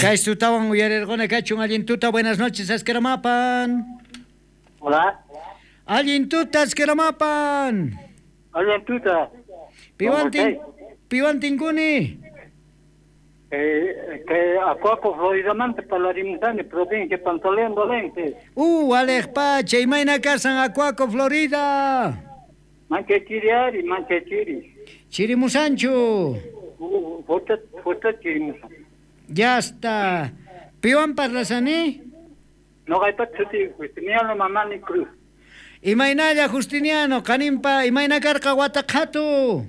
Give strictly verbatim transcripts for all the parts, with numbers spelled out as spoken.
Kay tutawan uyarirquna kachun allin tuta, buenas noches, Askeramapan. Hola. Allin tuta, Askeramapan. Allin tuta. Piwantin, piwan tinkuni. Eh, que Acuaco, Floridamanta parlarimusani, provincia Pantaleón Valente. Uh, Alex Pache, imayna kasan Acuaco, Florida. Mancha chiri ari, mancha chiri. Chirimusanchu. Uh, fuerte, fuerte chirimusan. Ya está. Piwan parlasani? Noqaypata suti Justiniano Mamani Cruz. Imaynalla Justiniano, qanimpa imayna karqa wataqhatu.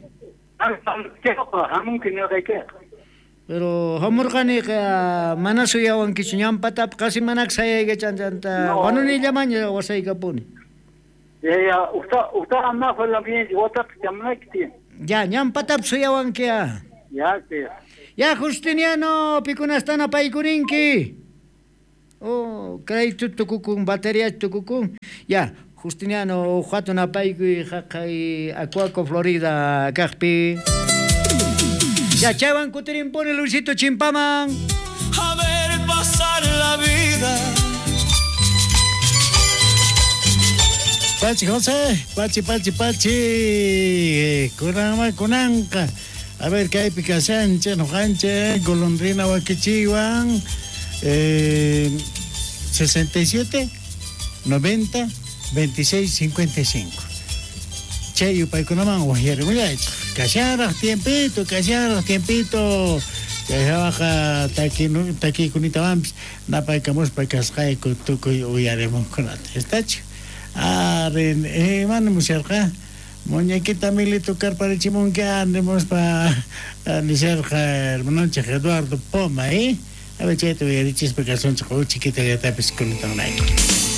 Hamunki noqayka. Pero hamurqaniqa mana suyawankichu ñampatap qasi manak sayaykachanta No. wanunillamaña wasaykapuni. Ya, ya, usta, usta ama fue la bien, wataq chamunayki. Ya, ñampatap suyawankia. Ya, sí. Ya Justiniano, pikunastana paykurinki. Oh, crédito tukukun, batería tukukun. Ya, Justiniano, uqhatun apaykuy haqay Acuaco, Florida, kaqpi. Ya, chaywan kutirimpuni Luisito Chimpaman. A ver pasar la vida. Pachi José, Pachi, Pachi, Pachi, kunanma kunanqa. A ver, kaypi kashanchej, noqanchej, golondrina wakichiwan, eh, sesenta y siete, noventa, veintiséis, cincuenta y cinco. Chay yupaykunaman wajyarimullaychej. Kashanraj tiempito, kashanraj tiempito. Chay hawaqa taki- takikunitawanpis napaykamuspa kasqayku tukuy uyarimunkunata. Estachu? Arre, eh, mana musharqa. Muñequita Milito karparichimunki animuspa nisharqa hermanonchej Eduardo Poma, eh? A ver, chayta uyarichispa kasunchej uchikitallatapis kunatanayku.